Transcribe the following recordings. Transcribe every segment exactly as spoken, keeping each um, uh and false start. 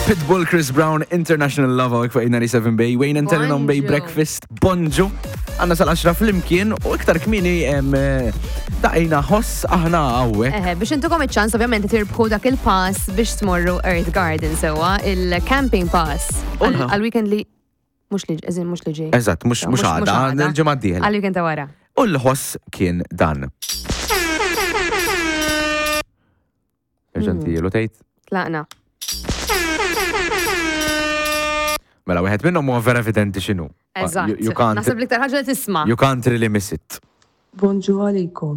Pitbull, Chris Brown, International Love hawnhekk fuq eight ninety-seven Bay, Wayne and Telling on Bay Bonġu. Breakfast, bonġu. Għandna sal-għaxra flimkien u iktar kmieni em, eh, daqqejna ħoss aħna hawnhekk. Eħe, biex intukom iċ-ċans ovvjament tirbħu dak il-pass biex tmorru Earth Garden sewa, il-camping pass. Unħa. Għal-weekend li mhux li eżin mhux li ġej. Eżatt, mhux mhux għada, il-ġimgħa d-dieħla. Għal-weekend ta' wara. U l-ħoss kien dan. Ġentilu tgħid. Tlaqna. Mela, wieħed minnhom huwa vera evidenti x'inhu. Eżatt. You, you can't Naħseb l-iktar ħaġa li tisma'. You can't really miss it. Bonġu għalikom.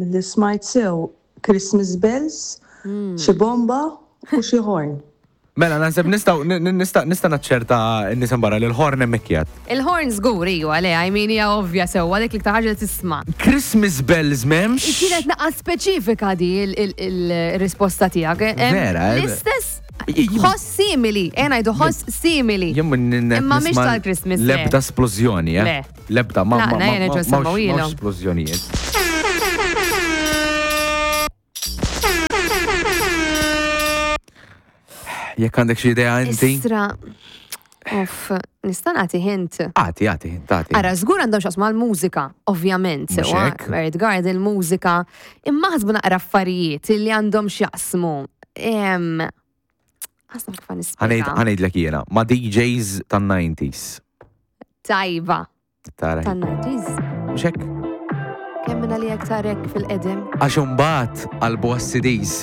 Milli smajt sew Christmas bells, xi bomba u xi horn. Mela, naħseb nistgħu nista' nista' naċċerta n-nies barra li l-horn hemmhekk qiegħed. Il-horn żgur iwa, le, I mean hija ovvja sewwa dik l-iktar ħaġa li tisma'. Christmas bells m'hemmx. Kienet naqra speċifika di il-risposta tiegħek. Em, Vera, eh? L-istess J- j- ħoss simili, eh ngħidu ħoss simili. Jien minn Imma mhix tal-Christmas, le. Lebda esplożjoni, eh? Le. Lebda, ma ma La, ma na, jena ma- ġo mawx semmawilhom. mawx esplożjonijiet. Jekk għandek xi idea inti? Istra, uff, nista' nagħti hint. Agħti, agħti, agħti. Ara, żgur għandhom x'jaqsmu mal-mużika, ovvjament, Mhux sewa, hekk? Earth Garden, mużika, imma ħasbu naqra affarijiet li għandhom x'jaqsmu. Em, Għasna kif nispjega. Ħa ngħidlek jiena, ma' D Js tan-nineties. Tajba, Tara. tan-nineties. Mhux hekk? Kemm minna li aktar hekk fil-qedem. Għax imbagħad qalbu għas-C Ds.